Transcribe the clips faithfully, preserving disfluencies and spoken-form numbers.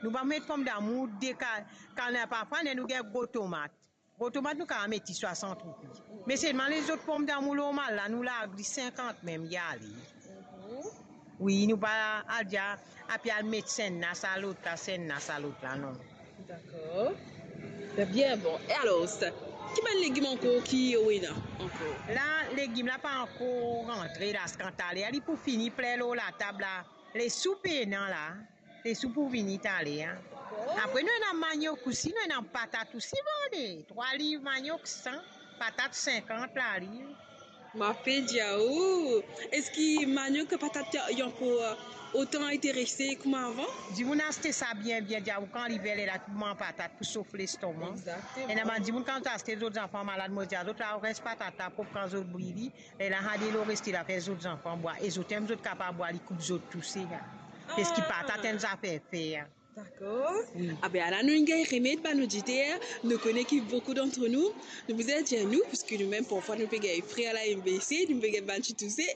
Nou pa met pomdamour de ka-, kana parfwa, ler nou gagn gro tomat. Gro tomat nou kapav met li swasant roupi. Me selman lezot pomdamour normal la, nou larg li sinkant mem, li ale. Mhm. Wi, nou pa al dir, ape al met sa enn la, sa lot la, sa enn la, sa lot la, non. Dakor. Be bien bon. E alor, ki bann legim ankor ki ou ena ankor? La, legim la pa ankor rantre la, kan taler li pou fini plen lor latab la. Lesou pena la, lesou pou vini taler, an. Dakor. Apre nou ena maniok osi, nou ena patat osi, bon, de trwa liv maniok, san, patat sinkant laliv. Mo pe dir ou, eski maniok, patat, li ankor otan interese kouma avan? Dimoun aste sa bien, bien, dir ou kan liver la, tou manz patat pou sof lestoma. Exactement. Ena bann dimoun kan zot aste zot zanfan malad, mo dir zot, la res patat la prop kan zot bwi li, lerla sa delo reste la fer zot zanfan bwar, e zot mem zot kapav bwar li, koup zot touse, an. Parski patat enn zafer fer, an. Dakor. Wi. Abe, ala nou gagn remed, bann oditer, nou kone ki boukou dantre nou, nou bizin dir nou, parski nou mem parfwa nou pe gagn frer la, M B C, nou pe gagn bann ti touse.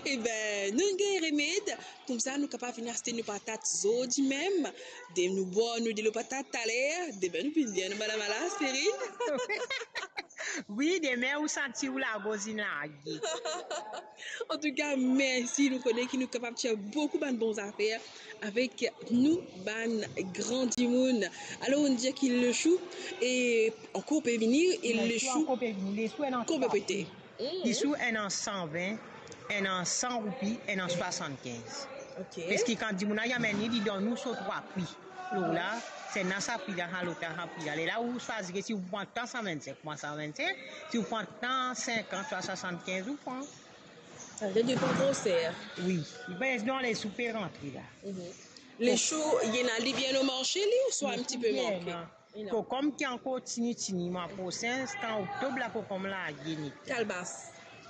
Eben, nou gagn remed, koumsa nou kapav vinn aste nou patat zordi mem, de nou bwar nou delo patat taler, demin nou vinn dir nou madam ala aspirin. Wi, demin ou santi ou lagorz inn large. Antouka, mersi, nou kone ki nou kapav tir boukou bann bon zafer avek nou bann gran dimoun. Alor, nou dir ki lesou, e ankor pe vini, e lesou ankor pe vini, lesou enn an trwa pri. Lesou enn an san vin, enn an san roupi, enn an swasannkinz. Ok. Parski kan dimoun la amenn li, li donn ou so trwa pri. Lor la, sa enn la sa pri la, sa lot la sa pri la. Lerla ou swazir si ou pran tan san vinn-sink, pran san vinn-sink, si ou pran tan sinkant, swa swasannkinz, ou pran. Savedir depann groser. Wi. Li pe donn lesou pe rantre la. Mhm. Lesou, ena li bien o marse li, ouswa enn ti pe manke? Ena. Kokom ki ankor tini tini, mwa prosin, kan oktob la, kokom la, ena. Kalbas.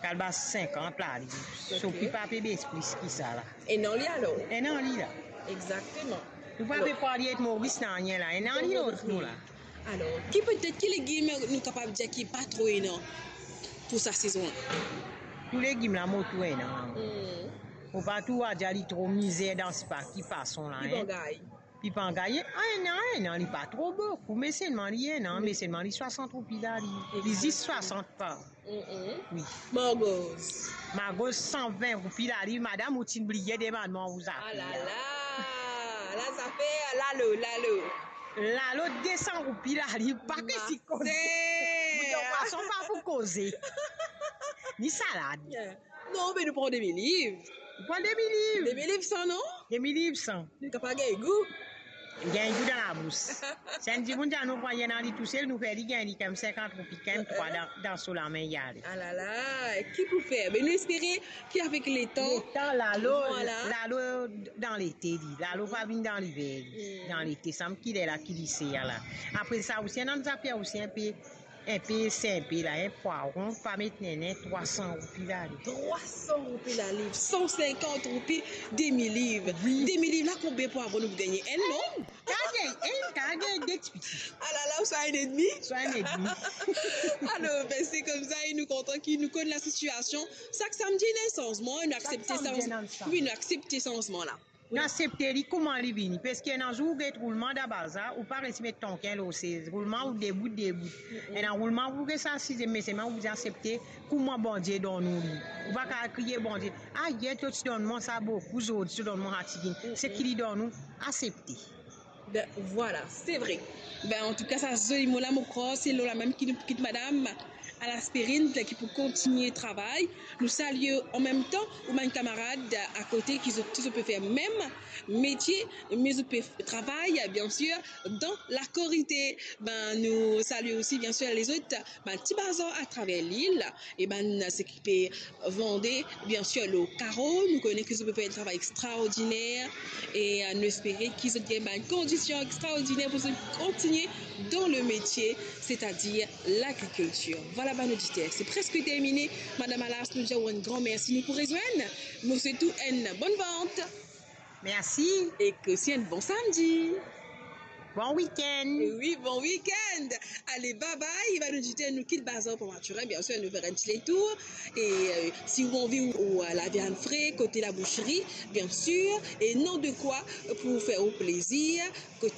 Kalbas sinkant laliv. Ok. So pri pa pe bes plis ki sa la. Ena li alor? Ena li la. Exactement. Nou pa pe pran li et Moris nanye la. Ena li lor nou la. Alor, ki petet, ki legim nou kapav dir ki pa tro ena pou sa sezon la? Tou legim la mo tou ena. Hmm. Mo pa tou a dir li tro mizer dan sipa ki fason la, en. Li pa gagn. Li pa gagn, ah, ena, ena, li pa tro boukou, me selman li ena, me selman li swasant roupi laliv. Li zis swasant pa. Mm-mm. Wi. Margoz. Margoz san vin roupi laliv, madam, ou ti bliye demann mwa ou zafer. Ah la la. La zafer, lalo, lalo. Lalo de san roupi laliv, pa ke si koze. Bouton pwason pa pou koze. Ni salad. Yeah. Non, me nou pran de mil liv. Nou pran de mil liv. De mil liv san, non? De mil liv san. Nou kapav gagn gou. Gagn gou dan labous. Si enn dimoun dir nou pran enn li tousel, nou fer li gagn li kanmem sinkant roupi, kanmem trwa dan, dan so lame, li ale. Ah la la, ki pou fer? Me nou espere ki avek letan, letan, lalo, vwala, lalo dan lete li, lalo pa vinn dan liver li. Hmm. Dan lete, sanble ki lerla ki li se la. Apre sa, osi, ena enn zafer osi, enn pe Enpe sinp la, enn pwaron, pa met nenen, trwa san roupi laliv. Trwa san roupi laliv, san sinkant roupi demi liv. Wi. Demi liv la, konbien pwaron nou pou gagne? Enn, non? Enn, ka gagn enn, ka gagn de ti piti. Ah la la, ou swa enn edmi? Swa enn edmi. Alor, be, se koumsa, e nou kontan ki nou konn lasitiasion. Sak samdi, ena sanzman, nou aksepte sanzman. Wi, nou aksepte sanzman la. Nou aksepte li kouma li vini, parski ena zour ou get roulman dan bazar, ou pa resi met tonkin lor sez, roulman ou debout, debout. Mm-mm. Ena roulman ou res asize, me selman ou bizin aksepte kouma Bondie donn ou li. Ou pa kapav kriye Bondie, "Ah, yer to ti donn mwa sa boukou, zordi to donn mwa sa tigit." Mm-mm. Seki li donn ou, aksepte. Ben, vwala, se vre. Ben, antouka, sa zoli mo la, mo krwar se lor la mem ki nou pou kit madam Alaspirin, ki pou kontinie travay. Nou salie an mem tan ou bann kamarad akote ki zot, ki zot pe fer mem metie, me zot pe travay, bien sir, dan lakorite. Ben, nou salie osi, bien sir, lezot, bann ti bazar atraver lil, e bann seki pe vande, bien sir, lor karo. Nou kone ki zot pe fer enn travay extraordiner, e, euh, nou espere ki zot gagn bann kondision extraordiner pou zot kontinie dan le metie, setadir lagrikiltir. Vwala, bann oditer, se preske termine. Madam Alas, nou dir ou enn gran mersi. Nou pou rezwenn, nou swet ou enn bonn vant. Mersi. E osi enn bon samdi. Bon week-end. Oui, bon week-end. Allez, bye bye. Il va nous dire nous quitte bazar pour Mathurin. Bien sûr, nous faire un petit tour. Et euh, si vous avez envie ou, ou, euh, la viande fraîche, côté la boucherie, bien sûr. Et non de quoi pour vous faire au plaisir, côté